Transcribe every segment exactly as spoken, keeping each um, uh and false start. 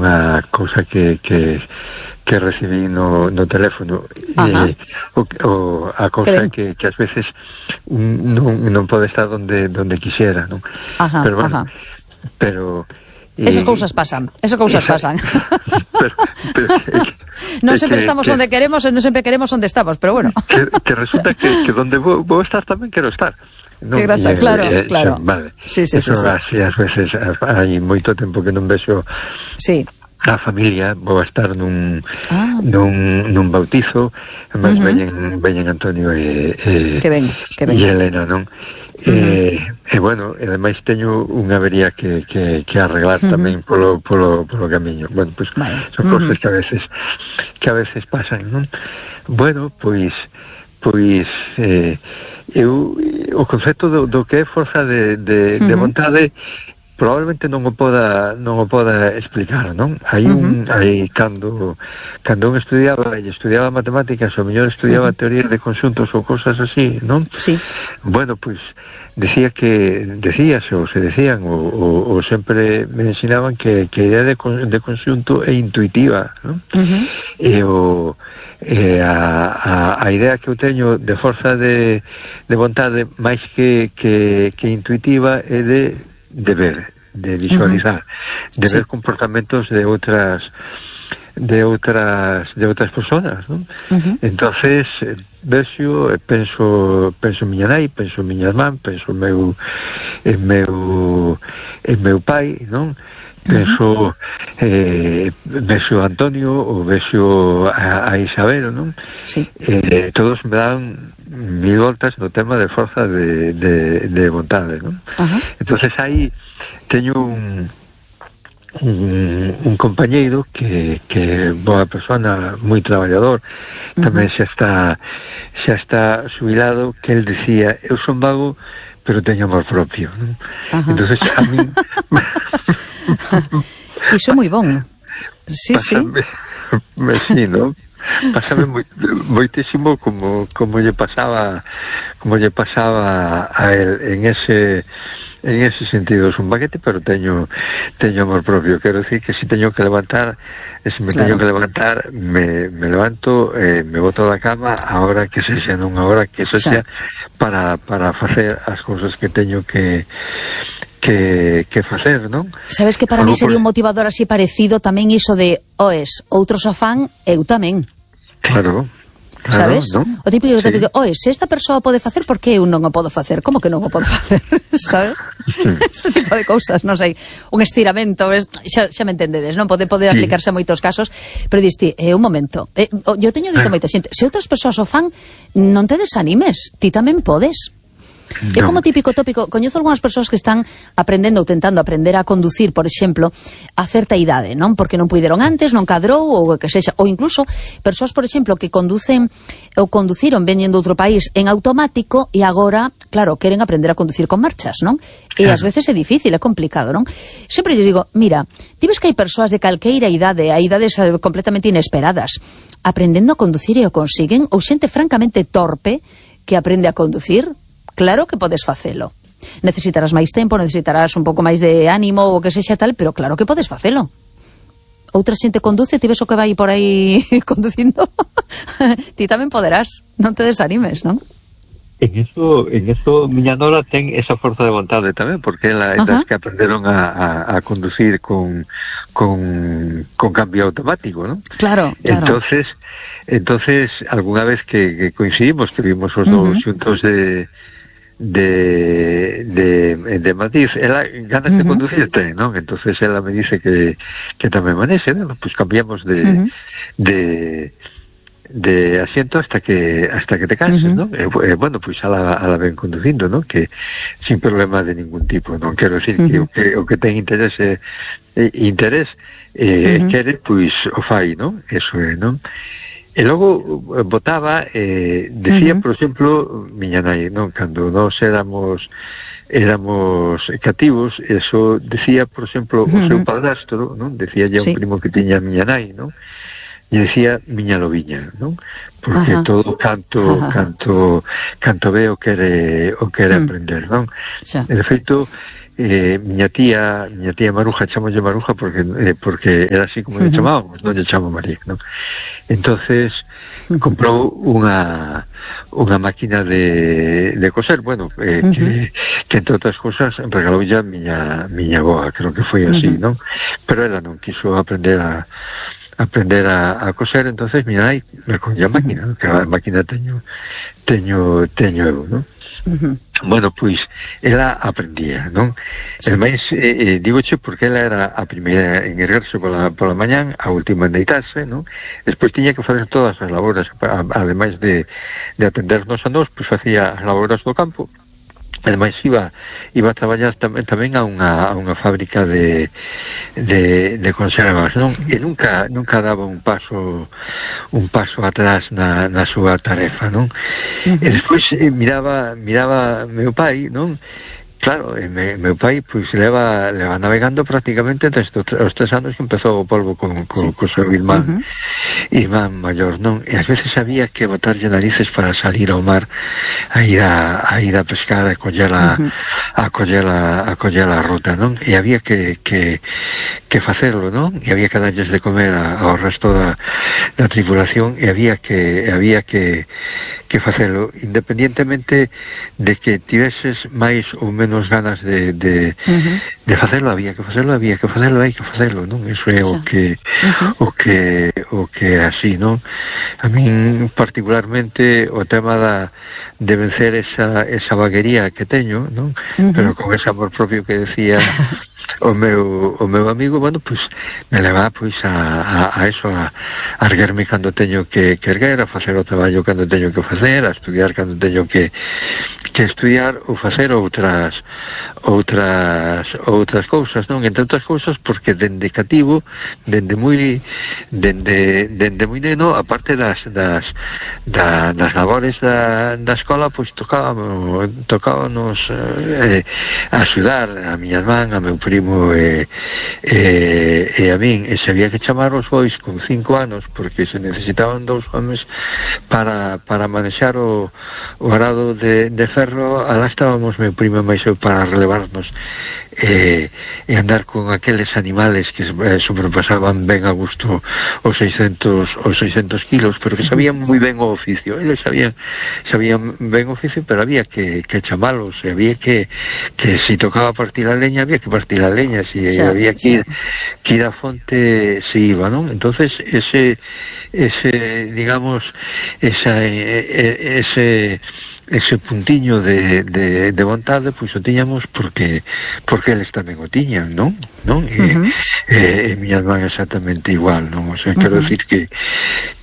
unha cousa que que que recibí no, no teléfono, eh, o, o, a cousa que, que ás veces non, non pode estar donde donde quixera, non? Ajá, pero bueno, ajá. pero esas cousas pasan, esas cousas esa, pasan. pero, pero que, non sempre que, estamos que, onde queremos e non sempre queremos onde estamos, pero bueno. Que, que resulta que, que donde vou, vou estar tamén quero estar. Non, que graza, claro, eh, claro. Xa, vale. Sí, sí, sí, sí. Así, ás veces hai moito tempo que non vexo sí. a familia, vou a estar nun ah. nun, nun bautizo, mas uh-huh. veñen, veñen Antonio e, e, que ben, que ben. e Elena, non? Uh-huh. E, e bueno, e ademais teño unha avería que, que, que arreglar uh-huh. tamén polo, polo, polo camiño. Bueno, pois, pues, vale. son uh-huh. cosas que a veces que a veces pasan, non? Bueno, pois pois eh, eu, o concepto do, do que é forza de, de, uh-huh. de vontade probablemente non o poda non o poda explicar, non? Hai un uh-huh. hai cando cando un estudiaba e estudiaba matemáticas, ou mellor estudiaba uh-huh. teoría de conxuntos ou cosas así, non? Sí. Bueno, pois decía que decías ou se decían ou, ou, ou sempre me ensinaban que que a idea de de conxunto é intuitiva, non? Uh-huh. E o e a, a, a idea que eu teño de forza de, de vontade máis que, que, que intuitiva é de de ver, de visualizar, uh-huh. de sí. ver comportamentos de outras de outras de outras persoas, non? Uh-huh. Entonces, vexo, penso, penso miña nai, penso miña irmán, penso meu en meu en meu pai, non? Penso uh-huh. eh, vexo a Antonio ou vexo a, a Isabel, non? Sí. Eh, todos me dan mil voltas no tema de forza de, de, de vontade, non? Uh-huh. Entonces aí teño un un, un compañeiro que, que boa persona, moi traballador, tamén uh-huh. xa está xa está xubilado, que el decía, eu son vago pero teño amor propio, non? Uh-huh. Entonces a mí iso é moi bon. Sí, pásame, sí, sí, non? Pásame moi, moitísimo como como lle pasaba como lle pasaba a él en ese en ese sentido. Es un baguete, pero teño teño amor propio. Quero decir que si teño que levantar, se me claro. teño que levantar, me, me levanto, eh, me boto da cama a hora que se xa, non a hora que se xa, para, para facer as cousas que teño que que, que facer, non? Sabes que para mí sería un motivador así parecido tamén iso de, oes, outros o fan, eu tamén. Claro. Claro, sabes? ¿no? O típico, sí. típico, oe, se esta persoa pode facer, por que eu non o podo facer? Como que non o podo facer? Sabes? Sí. Este tipo de cousas, non sei, un estiramento, xa, xa me entendedes, non? Pode poder sí. aplicarse a moitos casos, pero diste, eh, un momento, eh, eu teño dito moita xente, se outras persoas o fan, non te desanimes, ti tamén podes. No. É como típico tópico, coñezo algunhas persoas que están aprendendo ou tentando aprender a conducir, por exemplo, a certa idade, non? Porque non puideron antes, non cadrou, ou que sexa, ou incluso persoas, por exemplo, que conducen ou conduciron veñendo outro país en automático e agora, claro, queren aprender a conducir con marchas, non? E ás veces é difícil, é complicado, non? Sempre lles digo, mira, ti ves que hai persoas de calqueira idade, a idades completamente inesperadas, aprendendo a conducir e o consiguen, ou xente francamente torpe que aprende a conducir. Claro que podes facelo. Necesitarás máis tempo, necesitarás un pouco máis de ánimo ou que sexa tal, pero claro que podes facelo. Outra xente conduce, ti ves o que vai por aí conducindo, ti tamén poderás, non te desanimes, non? En eso, en eso miña nora ten esa forza de vontade tamén, porque ela é das que aprenderon a, a, a conducir con, con, con cambio automático, ¿no? Claro, claro. Entonces, entonces alguna vez que, que coincidimos, que vimos os uh-huh. dos xuntos de de de, de Madrid, ela ganas uh-huh. de conducir ten, ¿no? Entonces ela me dice que, que tamén manexe, ¿no? Pues cambiamos de uh-huh. de de asiento hasta que hasta que te canses, uh-huh. ¿no? Eh, eh, bueno, pues a la, a la ven conducindo, ¿no? Que sin problema de ningún tipo, non quero decir uh-huh. que o que o que ten interés eh, interés eh, uh-huh. quere, pois o fai, ¿no? Eso é, ¿no? E logo botaba, eh, decía, uh-huh. por exemplo, miña nai, non? Cando nós éramos éramos cativos, eso decía, por exemplo, uh-huh. o seu padrastro, non? Decía ya sí. un primo que tiña miña nai, non? E decía miña lobiña, non? Porque ajá. todo canto ajá. canto canto ve o quere o quere mm. aprender, non? Xa. E de feito eh, miña tía, miña tía Maruja, chamolle Maruja porque eh, porque era así como uh-huh. lle chamábamos, non lle chamo María, non? Entonces comprou unha unha máquina de, de coser, bueno, eh, uh-huh. que, que entre outras cosas regalou ya miña miña boa, creo que foi así, uh-huh. non? Pero ela non quiso aprender a aprender a, a coser, entonces mira aí me coña a máquina, ¿no? Que a máquina teño teño teño eu, non? Uh-huh. Bueno, pois ela aprendía, non? Sí. E máis, eh, eh, digoche porque ela era a primeira en erguerse pola, pola mañán, a última en deitarse, non? Despois tiña que facer todas as labores, ademais de, de atendernos a nós, pois facía as labores do campo. Ademais iba iba a traballar tamén tamén a unha a unha fábrica de de de conservas, non? E nunca nunca daba un paso un paso atrás na na súa tarefa, non? Uh-huh. E despois eh, miraba miraba meu pai, non? Claro, e me, meu pai pois leva leva navegando prácticamente desde os tres anos que empezou o polvo con, con, sí. con seu irmán uh-huh. irmán maior, non? E ás veces había que botarlle narices para salir ao mar a ir a, a ir a pescar a coller a, uh-huh. a coller a, a coller a ruta, non? E había que, que, que facerlo, non? E había que darlles de comer a, ao resto da, da tripulación e había que había que que facelo, independientemente de que tiveses máis ou menos ganas de, de, uh-huh. de facelo, había que facelo, había que facelo, hai que facelo, non? Iso é o que, uh-huh. o que o que así, non? A min particularmente o tema da de vencer esa, esa vaguería que teño, non? Uh-huh. Pero con ese amor propio que decía o meu o meu amigo, bueno, pois pues, me leva pois pues, a, a, a eso a, a erguerme cando teño que, que erguer, a facer o traballo cando teño que facer, a estudiar cando teño que que estudiar ou facer outras outras outras cousas, non? Entre outras cousas porque dende cativo, dende moi dende dende moi neno, aparte das das da, das labores da, da escola, pois pues, tocábamos tocábamos eh, axudar a miña irmán, a meu primo e, e, e a min, e se había que chamar os bois con cinco anos porque se necesitaban dous homes para, para manexar o, o arado de, de ferro, alá estábamos meu primo e máis eu para relevarnos e, e andar con aqueles animales que eh, sobrepasaban ben a gusto os seiscentos os seiscentos kilos, pero que sabían moi ben o oficio, eles sabían sabían ben o oficio, pero había que, que chamalos, e había que que si tocaba partir a leña, había que partir a leña, si sí, había que ir, que ir a fonte se iba, non? Entonces ese ese digamos esa ese ese puntiño de, de, de vontade, pois o tiñamos porque porque eles tamén o tiñan, non? non? E, uh-huh. e, e miña irmán exactamente igual, non? O sea, quero uh-huh. decir que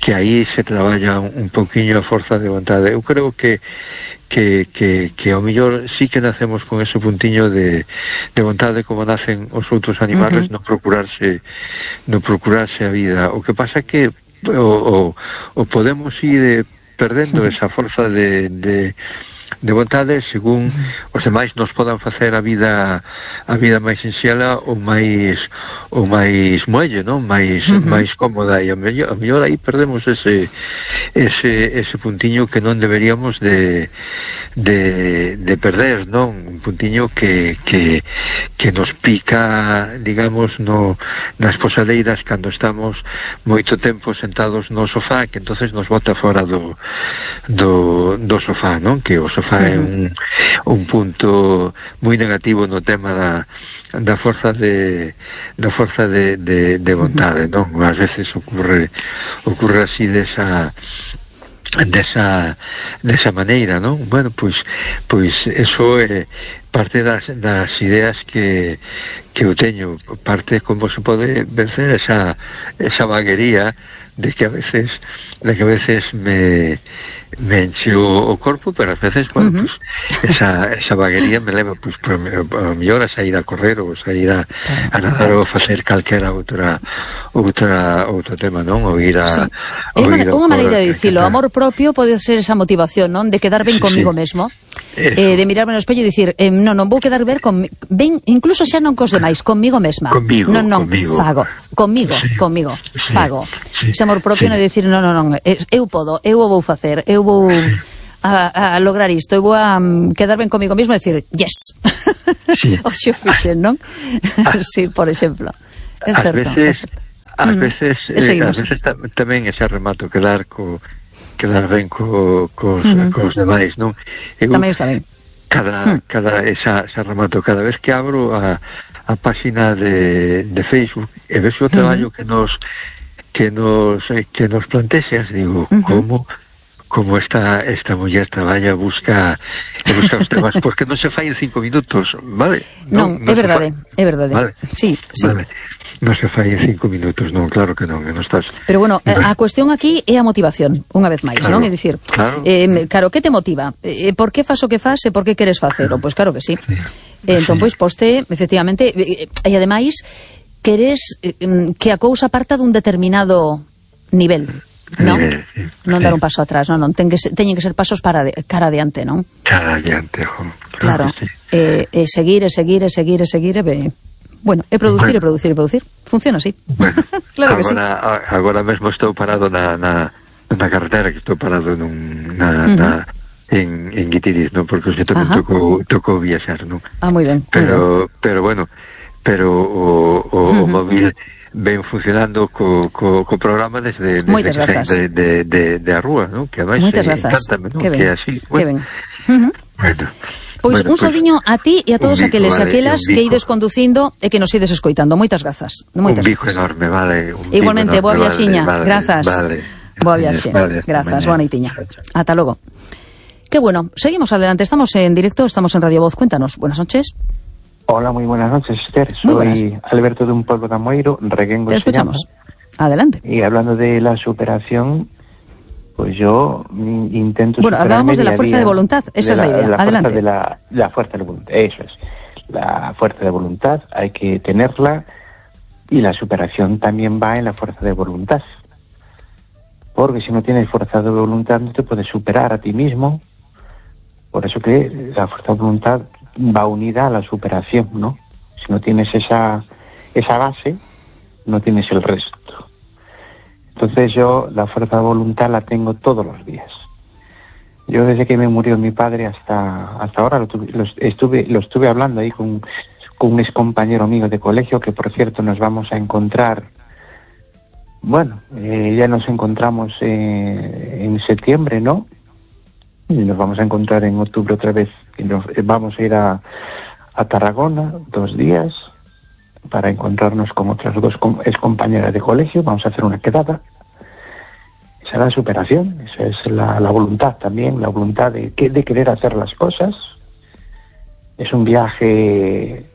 que aí se traballa un, un pouquiño a forza de vontade. Eu creo que que, que, que ao mellor sí que nacemos con ese puntiño de, de vontade como nacen os outros animales, uh-huh. no procurarse no procurarse a vida. O que pasa que o, o, o podemos ir perdendo esa forza de, de, de vontade según os demais nos podan facer a vida a vida máis sinxela ou máis ou máis muelle, non? Máis uh-huh. máis cómoda, e a mellor, a mellor aí perdemos ese ese ese puntiño que non deberíamos de de de perder, non? Un puntiño que que que nos pica, digamos, no nas posadeiras cando estamos moito tempo sentados no sofá, que entonces nos bota fora do do do sofá, non? Que o sofá uh-huh. é un un punto moi negativo no tema da da forza de da forza de de de vontade, uh-huh. non? Ás veces ocurre ocurre así desa desa desa maneira, non? Bueno, pois pois eso é parte das das ideas que que eu teño, parte como se pode vencer esa esa vaguería de que a veces de que a veces me me enche o, o corpo, pero ás veces, bueno, uh-huh. pues, esa, esa vaguería me leva, pues, por, a mellor a sair a correr ou sair a, a nadar ou facer calquera outra outra outro tema, non? Ou ir a... Sí. Ou é unha maneira de dicilo, amor propio pode ser esa motivación, non? De quedar ben sí, comigo sí. mesmo, eh, de mirarme no espello e dicir, eh, non, non vou quedar ben, con, ben incluso xa non cos demais, comigo mesma. Conmigo, non, non, conmigo. fago, comigo, sí. comigo, sí. fago. Sí. Ese amor propio sí. non é dicir, non, non, non, eu podo, eu o vou facer, eu vou a, a lograr isto, eu vou a um, quedar ben comigo mesmo e dicir, yes. Sí. O xo fixen, non? Sí, por exemplo. É Ás certo. veces, ás Mm. veces, E eh, seguimos. ás veces ta- tamén ese remato quedar co quedar ben co, cos, Mm. cos demais, non? Eu, Tamén está ben. cada, Mm. cada esa, esa remato, cada vez que abro a, a página de, de Facebook e vexo o traballo que nos que nos eh, que nos plantexas, digo, Uh-huh. como como esta esta muller traballa, busca busca os temas, porque non se fai en cinco minutos, vale? Non, é verdade, é verdade. Vale. Sí, sí. Vale. Non se fai en cinco minutos, non, claro que non, que non estás. Pero bueno, a cuestión aquí é a motivación, unha vez máis, Claro, non? É dicir, claro. eh, claro, que te motiva? Eh, por que fas o que fas e por que queres facelo? Pois claro que sí. Sí. Eh, entón, Sí. pois, poste, efectivamente, e eh, ademais, queres eh, que a cousa parta dun determinado nivel, non? Nivel, sí. Non Sí. dar un paso atrás, non, non, ten que ser, teñen que ser pasos para de, cara adiante, non? Cara adiante, jo. Claro, que sí. eh, e seguir, e seguir, e seguir, e seguir, e be... Bueno, e producir, Bueno. e producir, e producir. Funciona así. Bueno, Claro que sí. agora, a- agora mesmo estou parado na, na, na carretera, que estou parado nun, na, Ujú. na, en, en Guitiriz, non? Porque xe tamén Ajá. tocou, tocou viaxar, non? Ah, moi ben. moi ben. Pero, pero bueno, pero o, o, o Ujú. móvil ven funcionando co, co, co programa desde, desde Moitas que grazas. saín de, de, de, de a rúa, non? Que ademais Moitas eh, grazas. encántame, non? Que ben, Que é así, que ben. bueno, Ujú. bueno. Pois Bueno, un saudiño a ti e a todos un bico, aqueles e vale, aquelas un que bico. ides conducindo e que nos ides escoitando. Moitas grazas. Moitas Un bico grazas. enorme, vale. Un bico Igualmente, enorme, boa viaxiña. vale, vale, Grazas. Vale. Boa viaxe. Vale, Grazas, mañá. boa noitiña. Chao, chao. Ata logo. Qué bueno, seguimos adelante. Estamos en directo, estamos en Radio Voz. Cuéntanos. Buenas noches. Hola, muy buenas noches, Esther. Muy Soy Alberto de un pueblo de Amoeiro, Reguengo. Te se llama. escuchamos. Adelante. Y hablando de la superación, pues yo mm, intento Bueno, superarme hablábamos de la día a fuerza día. de voluntad. Esa De es la idea. fuerza Adelante. de la, la fuerza de voluntad, eso es. La fuerza de voluntad hay que tenerla y la superación también va en la fuerza de voluntad. Porque si no tienes fuerza de voluntad no te puedes superar a ti mismo. Por eso que la fuerza de voluntad va unida a la superación, ¿no? Si no tienes esa, esa base, no tienes el resto. Entonces yo la fuerza de voluntad la tengo todos los días. Yo desde que me murió mi padre hasta hasta ahora lo, tuve, lo estuve lo estuve hablando ahí con, con un ex compañero mío de colegio, que por cierto nos vamos a encontrar. Bueno, eh, ya nos encontramos eh, en septiembre, ¿no? Y nos vamos a encontrar en octubre otra vez. Y nos, eh, vamos a ir a, a Tarragona dos días para encontrarnos con otras dos com- ex compañeras de colegio. Vamos a hacer una quedada. Esa es la superación, esa es la, la voluntad también, la voluntad de, que- de querer hacer las cosas. Es un viaje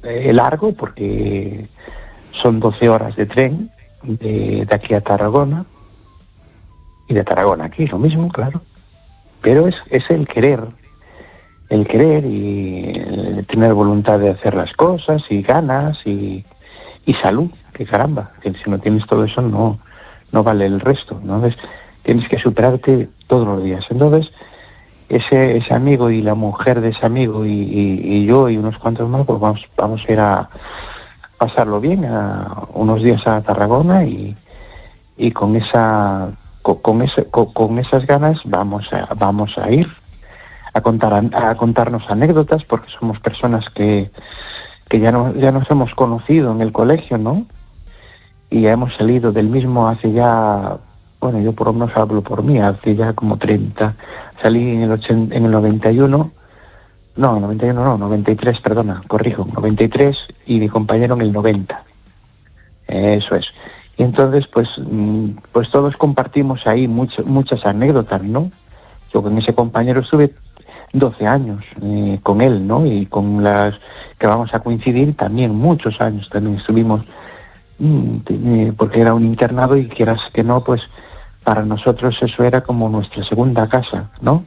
eh, largo porque son doce horas de tren de, de aquí a Tarragona, y de Tarragona aquí, lo mismo, claro. Pero es, es el querer, el querer y el tener voluntad de hacer las cosas y ganas y, y salud, que caramba, que si no tienes todo eso no, no vale el resto, ¿no? Entonces, tienes que superarte todos los días. Entonces, ese, ese amigo y la mujer de ese amigo y, y, y yo y unos cuantos más, pues vamos, vamos a ir a pasarlo bien, a unos días a Tarragona y, y con esa con, con, ese, con, con esas ganas vamos a, vamos a ir a contar a, a contarnos anécdotas, porque somos personas que, que ya, no, ya nos hemos conocido en el colegio, ¿no? Y ya hemos salido del mismo hace ya, bueno, yo por lo menos hablo por mí, hace ya como treinta, salí en el, ochenta, en el noventa y uno, no, noventa y uno no, noventa y tres, perdona, corrijo, noventa y tres, y mi compañero en el noventa, eso es. Y entonces, pues, pues todos compartimos ahí mucho, muchas anécdotas, ¿no? Yo con ese compañero estuve doce años eh, con él, ¿no? Y con las que vamos a coincidir también muchos años, también estuvimos, mm, porque era un internado y quieras que no, pues para nosotros eso era como nuestra segunda casa, ¿no?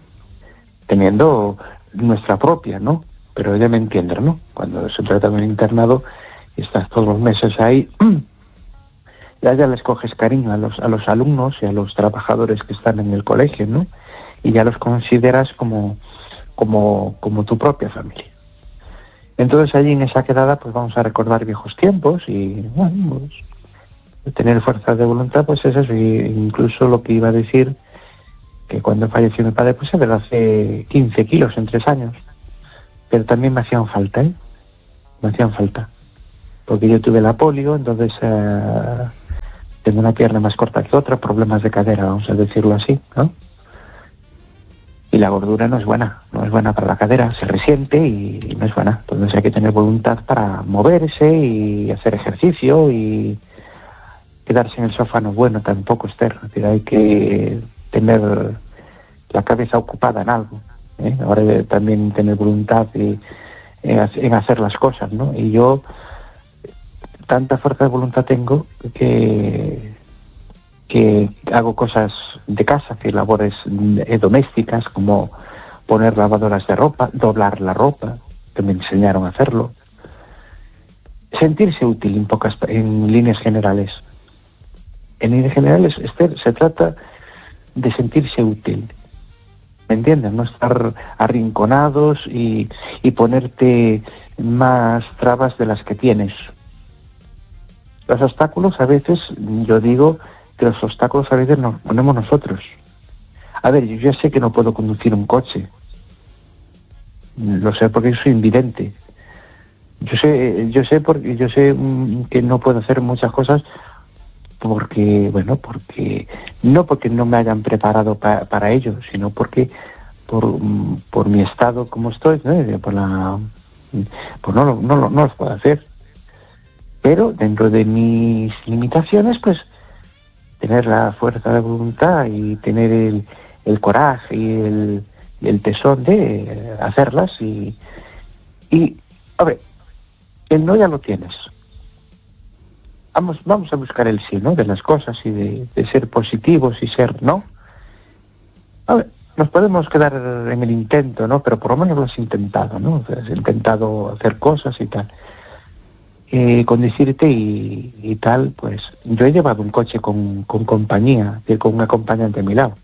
Teniendo nuestra propia, ¿no? Pero ya me entienden, ¿no? Cuando se trata de un internado y estás todos los meses ahí, ya ya les coges cariño a los a los alumnos y a los trabajadores que están en el colegio, ¿no? Y ya los consideras como como como tu propia familia. Entonces allí en esa quedada pues vamos a recordar viejos tiempos y bueno, pues tener fuerza de voluntad, pues es eso. Y incluso lo que iba a decir, que cuando falleció mi padre, pues es verdad, hace quince kilos en tres años. pero también me hacían falta, ¿eh? Me hacían falta. Porque yo tuve la polio, entonces eh, tengo una pierna más corta que otra, problemas de cadera, vamos a decirlo así, ¿no? Y la gordura no es buena, no es buena para la cadera, se resiente y no es buena. Entonces hay que tener voluntad para moverse y hacer ejercicio, y quedarse en el sofá no es bueno tampoco, Esther. Es decir, hay que tener la cabeza ocupada en algo, ¿eh? Ahora de también tener voluntad y, en hacer las cosas, ¿no? Y yo tanta fuerza de voluntad tengo que que hago cosas de casa, que labores domésticas, como poner lavadoras de ropa, doblar la ropa, que me enseñaron a hacerlo. Sentirse útil en pocas, en líneas generales. En líneas generales, Esther, se trata de sentirse útil. ¿Me entiendes? No estar arrinconados y, y ponerte más trabas de las que tienes. Los obstáculos a veces, yo digo que los obstáculos a veces nos ponemos nosotros. A ver, yo ya sé que no puedo conducir un coche. Lo sé porque soy invidente. Yo sé, yo sé porque yo sé que no puedo hacer muchas cosas porque, bueno, porque no porque no me hayan preparado pa, para ello, sino porque por, por mi estado como estoy, ¿no? Por la, pues no, no, no, no los puedo hacer. Pero dentro de mis limitaciones, pues tener la fuerza de voluntad y tener el, el coraje y el, el tesón de hacerlas y, y, a ver, el no ya lo tienes. Vamos, vamos a buscar el sí, ¿no? De las cosas y de, de ser positivos y ser, ¿no? A ver, nos podemos quedar en el intento, ¿no? Pero por lo menos lo has intentado, ¿no? Has intentado hacer cosas y tal. Eh, conducirte y, y tal, pues yo he llevado un coche con, con compañía, con un acompañante a mi lado,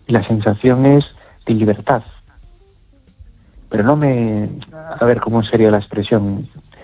y la sensación es de libertad, pero no me, a ver cómo sería la expresión,